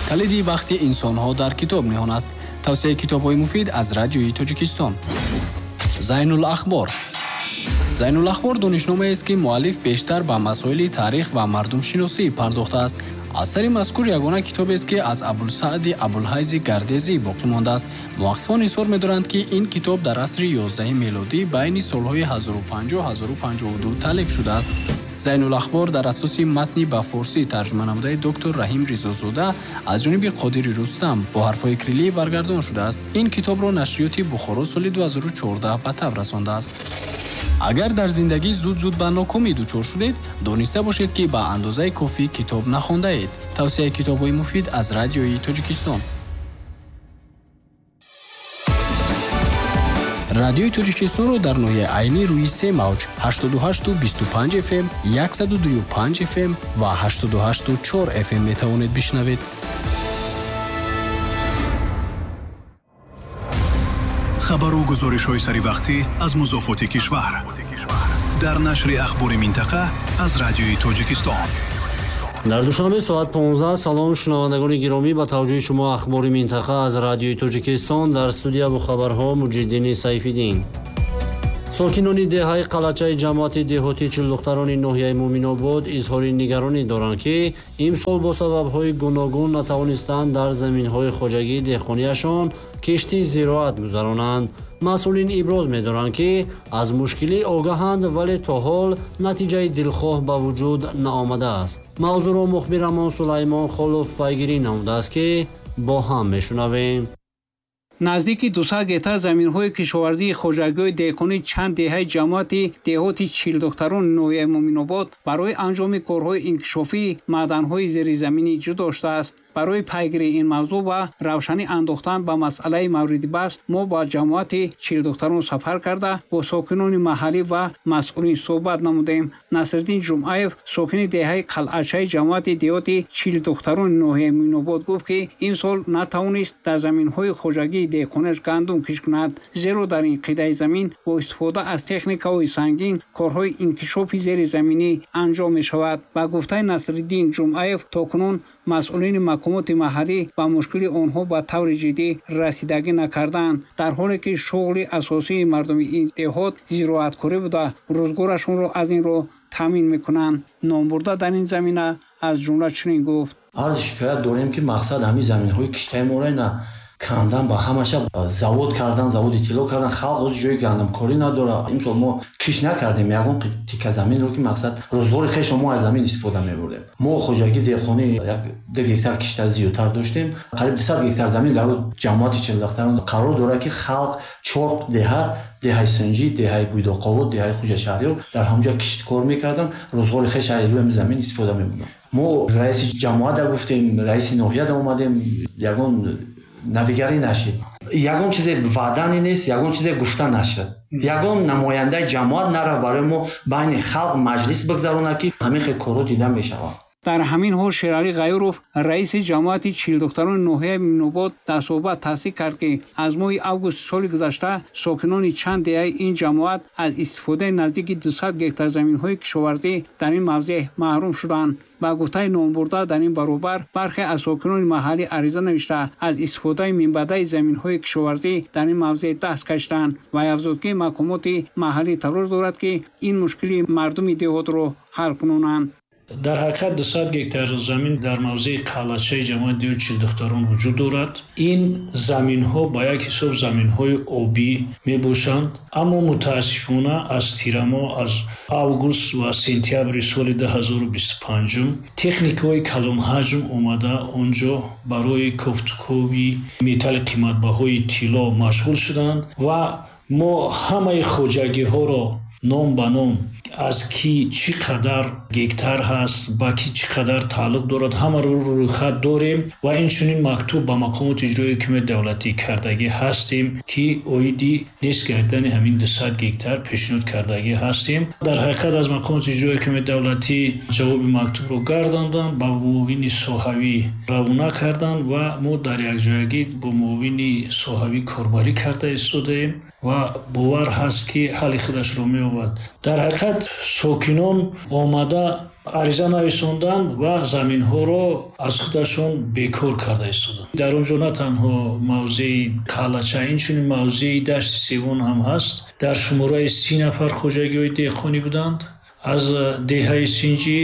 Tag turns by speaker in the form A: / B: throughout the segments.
A: Калиди бахти инсонҳо дар китоб ниҳон аст. Тавсияи китобҳои муфид аз Радиои Тоҷикистон. Зайнулахбор. Зайнулахбор донишномаест, ки муаллиф бештар ба масоили таърих ва мардумшиносӣ пардохтааст. Асари мазкур ягона китобест, ки аз Абулсаъди Абулҳайзи Гардезӣ боқӣ мондааст. Муҳаққиқон изҳор медоранд, ки ин китоб дар асри 11 мелодӣ байни солҳои 1050-1052 таълиф шудааст. Зайнулахбор дар асоси матни ба форсӣ тарҷума намудаи доктор Раҳим Ризозода аз ҷониби Қодири Рустам бо ҳарфҳои кириллӣ баргардон шудааст. Ин китобро нашриёти Бухоро соли 2014 ба таб расондааст. Агар дар зиндагӣ зуд-зуд ба нокомӣ дучор шудед, дониста бошед, ки ба андозаи кофӣ китоб нахондаед. Тавсияи китобҳои муфид аз Радиои Тоҷикистон. Радиои Тоҷикистонро дар ноҳияи Айнӣ рӯи се мавҷ 88,25 FM, 102,5 FM ва 88,4 FM метавонед бишнавед.
B: Хабару гузоришҳои саривақтӣ аз музофоти кишвар дар нашри Ахбори минтақа аз Радиои Тоҷикистон.
C: Дар Душанбе соат 15. Салом, шунавандагони гиромӣ, ба таваҷҷӯҳи шумо Ахбори минтақа аз Радиои Тоҷикистон. Дар студия бо хабарҳо Муҷиддини Сайфиддин. Сокинони деҳаи Қалачаи ҷамоати деҳоти Чилдухтарони ноҳияи Муъминобод изҳори нигаронӣ доранд, ки имсол бо сабабҳои гуногун натавонистанд дар заминҳои хоҷагии деҳқонияшон кишти зироат гузаронанд. Масъулин иброз медоранд, ки аз мушкилӣ огаҳанд, вале то ҳол натиҷаи дилхоҳ ба вуҷуд наомадааст. Мавзӯъро мухбирамон Сулаймон Холов пайгирӣ намудааст, ки бо ҳам мешунавем.
D: Наздики 200 гектар заминҳои кишоварзии хоҷагиҳои деҳқонии чанд деҳаи ҷамоати деҳоти Чилдухтарони ноҳияи Муъминобод барои анҷоми корҳои инкишофии маъданҳои зеризаминӣ ҷудо шудааст. Барои пайгирии ин мавзӯъ ва равшанӣ андохтан ба масъалаи мавриди баҳс мо ба ҷамоати Чилдухтарон сафар карда, бо сокинони маҳаллӣ ва масъулин суҳбат намудем. Насриддин Ҷумъаев, сокини деҳаи Қалъачаи ҷамоати деҳоти Чилдухтарони ноҳияи Муъминобод, гуфт, ки имсол натавонист дар заминҳои хоҷагии деҳқонаш гандум кишт кунад, зеро дар ин қитъаи замин бо истифода аз техникаҳои сангин корҳои инкишофи зеризаминӣ анҷом мешавад. Ба гуфтаи Насриддин Ҷумъаев, то кунун масъулини мақомоти маҳаллӣ ба мушкили онҳо ба таври ҷиддӣ расидагӣ накарданд, дар ҳоле ки шуғли асосии мардуми ин деҳот зироаткорӣ буда, рӯзгорашонро аз ин роҳ таъмин мекунанд. Номбурда дар ин замина аз ҷумла чунин гуфт:
E: Арзи шикоят дорем, ки мақсад ҳамин заминҳои киштаи моро ина кандан, ба ҳамаша завод кардан, заводи тилло кардан. Халқ ҳозир ҷои гандумкорӣ надорад. Имсол мо кишт накардем ягон тика заминро, ки мақсад рӯзгори хешро мо аз замин истифода мебурдем. Мо хоҷагии деҳқонӣ 1-2 гектар кишта зиёдтар доштем. Қариб 200 гектар замин дар ҷамоати Чилдухтарон қарор дорад, ки халқ чор деҳат, деҳаи Синҷӣ, деҳаи Буйдоқобод, деҳаи Хуҷашаҳриёр, дар ҳамонҷо кишткор мекарданд, рӯзгори хеш аз рӯи замин истифода мебурданд. Мо раиси ҷамоата гуфтем, раиси ноҳияда омадем, ягон навигарӣ нашид, ягон чизе ваъдане нест, ягон чизе гуфта нашуд, ягон намояндаи ҷамоат нарафт барои мо байни халқ маҷлис бигзаронад, ки ҳамин хел корҳо дида мешавад.
D: Дар ҳамин ҳол Шералӣ Ғайуров, раиси ҷамоати Чилдухтарони ноҳияи Муъминобод, дар суҳбат тасдиқ кард, ки аз моҳи августи соли гузашта сокинони чанд деҳаи ин ҷамоат аз истифодаи наздики 200 гектар заминҳои кишоварзӣ дар ин мавзеъ маҳрум шуданд. Ба гуфтаи номбурда, дар ин баробар бархе аз сокинони маҳаллӣ ариза навишта, аз истифодаи минбаъдаи заминҳои кишоварзӣ дар ин мавзеъ даст кашиданд ва афзуд, ки мақомоти маҳаллӣ талош дорад, ки ин мушкили мардуми деҳотро ҳал кунонанд.
F: Дар ҳақиқат 200 гектар замин дар мавзеи Қалъачаи ҷамоати деҳоти Чилдухтарон вуҷуд дорад. Ин заминҳо ба як ҳисоб заминҳои обӣ мебошанд, аммо мутаассифона аз тирамоҳ, аз август ва сентябри соли 2025 техникаҳои калонҳаҷм омада онҷо барои кофтукови металли қиматбаҳои тилло машғул шуданд ва мо ҳамаи хоҷагиҳоро ном ба ном, аз ки чӣ қадар гектар ҳаст, ба ки чӣ қадар тааллуқ дорад, ҳамаро рӯйхат дорем ва инчунин мактуб ба мақомоти иҷроии ҳукумати давлатӣ кардагӣ ҳастем, ки оиди нест гардидани ҳамин 200 гектар пешниҳод кардагӣ ҳастем. Дар ҳақиқат аз мақомоти иҷроии ҳукумати давлатӣ ҷавоби мактубро гардонданд, ба муовини соҳавӣ равона карданд ва мо дар якҷоягӣ бо муовини соҳавӣ корбарӣ карда истодаем. Ва бовар ҳаст, ки ҳалли худашро меёбад. Дар ҳақиқат сокинон омада ариза нависонданд ва заминҳоро аз худашон бекор карда истоданд. Дар он ҷо на танҳо мавзеи Қалача, инчунин мавзеи Дашти Севон ҳам ҳаст. Дар шумораи 30 нафар хоҷагиҳои деҳқонӣ буданд. Аз деҳаи Синҷӣ,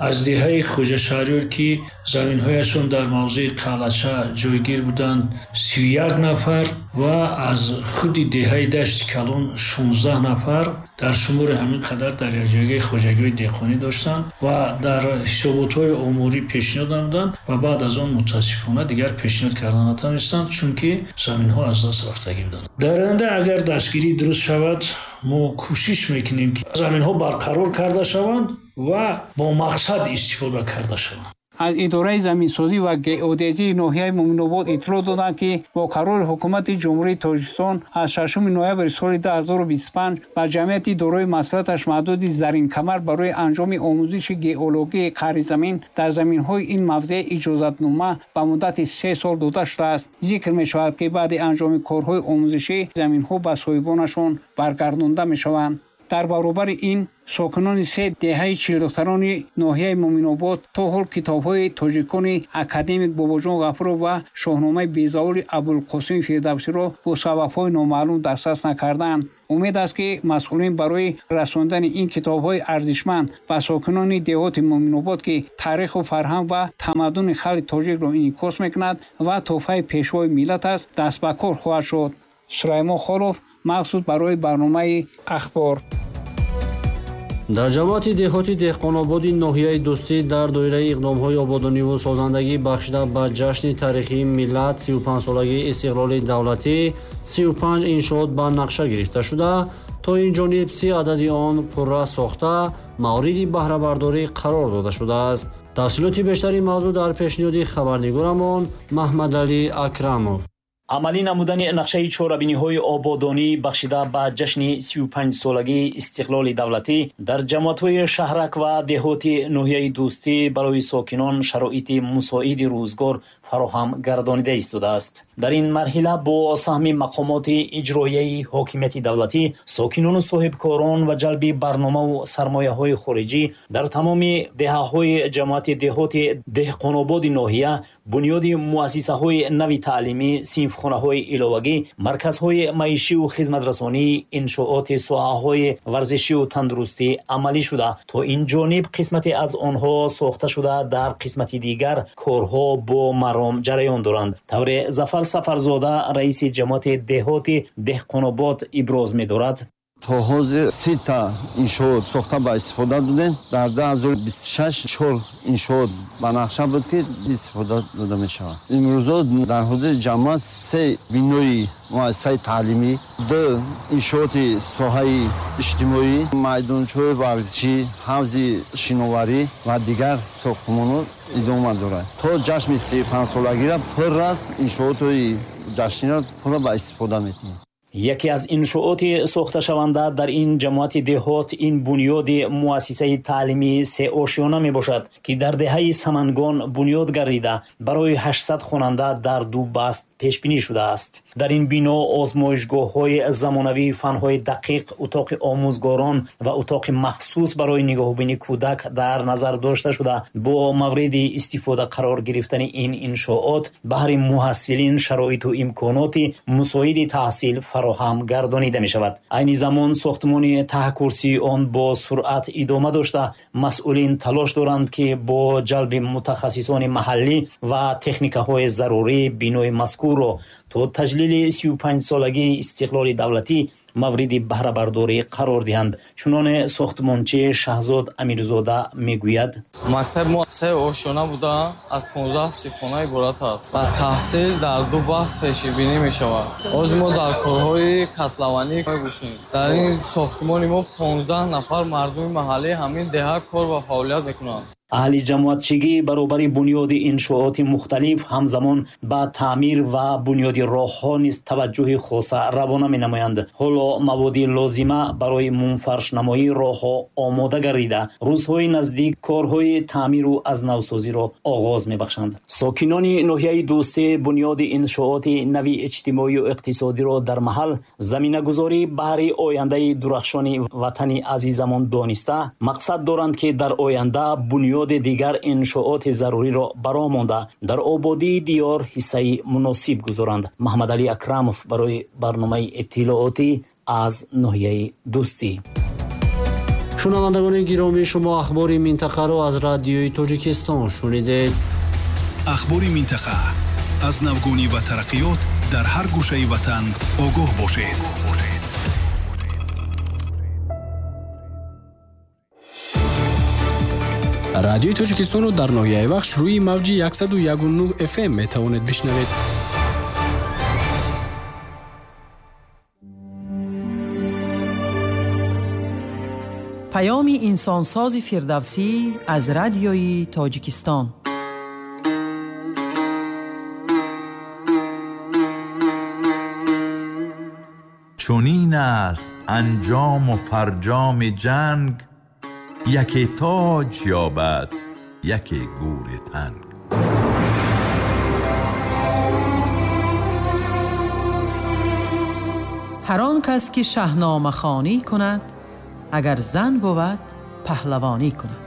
F: аз деҳаи Хоҷашаҳриёр, ки заминҳояшон дар мавзеи Қалача ҷойгир буданд, 31 нафар ва аз худи деҳаи Дашти Калон 16 нафар дар шумори ҳамин қадар дар якҷоягии хоҷагиҳои деҳқонӣ доштанд ва дар ҳисоботҳои оморӣ пешниҳод намуданд ва баъд аз он мутаассифона дигар пешниҳод карда натавонистанд, чунки заминҳо аз даст рафтагӣ буданд. Дар оянда агар дастгирӣ дуруст шавад, мо кӯшиш мекунем, ки заминҳо барқарор карда шаванд ва бо мақсад истифода карда шаванд.
D: Аз идораи заминсозӣ ва геодезии ноҳияи Муъминобод иттилоъ доданд, ки бо қарори Ҳукумати Ҷумҳурии Тоҷикистон аз 6 ноябри соли 2025 ба ҷамъияти дорои масъулияташ маҳдуди Заринкамар барои анҷоми омӯзиши геологии қаъри замин дар заминҳои ин мавзеъ иҷозатнома ба муддати 3 сол дода шудааст. Зикр мешавад, ки баъди анҷоми корҳои омӯзишӣ заминҳо ба соҳибонашон баргардонда мешаванд. Дар баробари ин сокинони се деҳаи чилдухтарони ноҳияи Муъминобод то ҳол китобҳои тоҷикони академик Бобоҷон Ғафуров ва шоҳномаи безаволи Абулқосими Фирдавсиро бо сабабҳои номаълум дастрас накардаанд. Умед аст, ки масъулин барои расондани ин китобҳои арзишманд ба сокинони деҳоти Муъминобод, ки таъриху фарҳанг ва тамаддуни халқи тоҷикро инъикос мекунад ва тӯҳфаи пешвои миллат аст, даст ба кор хоҳад шуд. Сулаймон Холов, махсус барои барномаи Ахбор.
C: Дар ҷамоати деҳоти Деҳқонободи ноҳияи Дӯстӣ дар доираи иқдомҳои ободониву созандагӣ бахшида ба ҷашни таърихии миллат 35-солагии истиқлоли давлатӣ 35 иншоот ба нақша гирифта шуда, то ин ҷониб 30 адади он пурра сохта мавриди баҳрабардорӣ қарор дода шудааст. Тафсилоти бештари мавзӯъ дар пешниҳоди хабарнигорамон Маҳмадалӣ Акрамов.
G: Амалӣ намудани нақшаи чорабиниҳои ободонӣ бахшида ба ҷашни 35-солагии истиқлоли давлатӣ дар ҷамоатҳои шаҳрак ва деҳоти ноҳияи Дӯстӣ барои сокинон шароити мусоиди рӯзгор фароҳам гардонида истодааст. Дар ин марҳила бо саҳми мақомоти иҷроияи ҳокимияти давлатӣ, сокинону соҳибкорон ва ҷалби барномаву сармояҳои хориҷӣ дар тамоми деҳаҳои ҷамоати деҳоти Деҳқонободи ноҳия бунёди муассисаҳои нави таълимӣ, синфхонаҳои иловагӣ, марказҳои маишиву хизматрасонӣ, иншооти соҳаҳои варзишиву тандурустӣ амалӣ шуда, то ин ҷониб қисмате аз онҳо сохта шуда, дар қисмати дигар корҳо бо маром ҷараён доранд. Тавре Зафар Сафарзода, раиси ҷамоати деҳоти Деҳқонобод, иброз медорад:
H: То ҳозир 30-та иншоот сохта ба истифода додем. Дар 2026 чор иншоот ба нақша буд, ки истифода дода мешавад. Имрӯзо дар ҳозири ҷамоат се бинои муассисаи таълимӣ, ду иншооти соҳаи иҷтимоӣ, майдончаҳои варзишӣ, ҳавзи шиноварӣ ва дигар сохтмонҳо идома дорад. То ҷашни 35-солагиро пурра иншоотҳои ҷашниро пурра ба истифода метиҳем.
G: Яке аз иншооти сохташаванда дар ин ҷамоати деҳот ин бунёди муассисаи таълимии сеошёна мебошад, ки дар деҳаи Самангон бунёд гардида, барои 800 хонанда дар ду баст пешбинӣ шудааст. Дар ин бино озмоишгоҳҳои замонавии фанҳои дақиқ, утоқи омӯзгорон ва утоқи махсус барои нигоҳубини кӯдак дар назар дошта шуда, бо мавриди истифода қарор гирифтани ин иншоот баҳри муҳассилин шароиту имконоти мусоиди таҳсил фароҳам гардонида мешавад. Айни замон сохтмони таҳкурсии он бо суръат идома дошта, масъулин талош доранд, ки бо ҷалби мутахассисони маҳаллӣ ва техникаҳои зарурӣ бинои мазкурро то таҷлили 35-солагии истиқлоли давлатӣ мавриди баҳрабардорӣ қарор диҳанд. Чуноне сохтмончи Шаҳзод Амирзода мегӯяд:
I: Мактаби мо се ошёна буда, аз 15 синфхона иборат аст ва таҳсил дар ду баст пешбинӣ мешавад. Ҳозир мо дар корҳои котлованӣ мебошем. Дар ин сохтмони мо 15 нафар мардуми маҳаллии ҳамин деҳа кор ва фаъолият мекунанд.
G: Аҳли ҷамоатчигӣ баробари бунёди иншооти мухталиф ҳамзамон ба таъмир ва бунёди роҳҳо низ таваҷҷӯҳи хоса равона менамоянд. Ҳоло маводи лозима барои мунфаршнамоии роҳҳо омода гардида, рӯзҳои наздик корҳои таъмиру аз навсозиро оғоз мебахшанд. Сокинони ноҳияи Дӯстӣ бунёди иншооти нави иҷтимоию иқтисодиро дар маҳал заминагузорӣ баҳри ояндаи дурахшони ватани азизамон дониста, мақсад доранд, ки дар оянда бунёди дигар иншооти заруриро бароҳ монда, дар ободии диёр ҳиссаи муносиб гузоранд. Маҳмадалӣ Акрамов барои барномаи иттилоотӣ аз ноҳияи Дӯстӣ.
C: Шунавандагони гиромӣ, шумо ахбори минтақаро аз Радиои Тоҷикистон шунидед.
B: Ахбори минтақа аз навгонӣ ва тараққиёт дар ҳар гӯшаи ватан огоҳ бошед.
A: Радиои Тоҷикистонро дар ноҳияи Вахш рӯи мавҷи 101.9 FM метавонед бишнавед.
J: Паёми инсонсози Фирдавсӣ аз Радиои Тоҷикистон.
K: Чунин аст анҷому фарҷоми ҷанг, яке тоҷ ёбад, яке гури танг.
J: Ҳар он кас ки шаҳномахонӣ кунад, агар зан бувад, паҳлавонӣ кунад.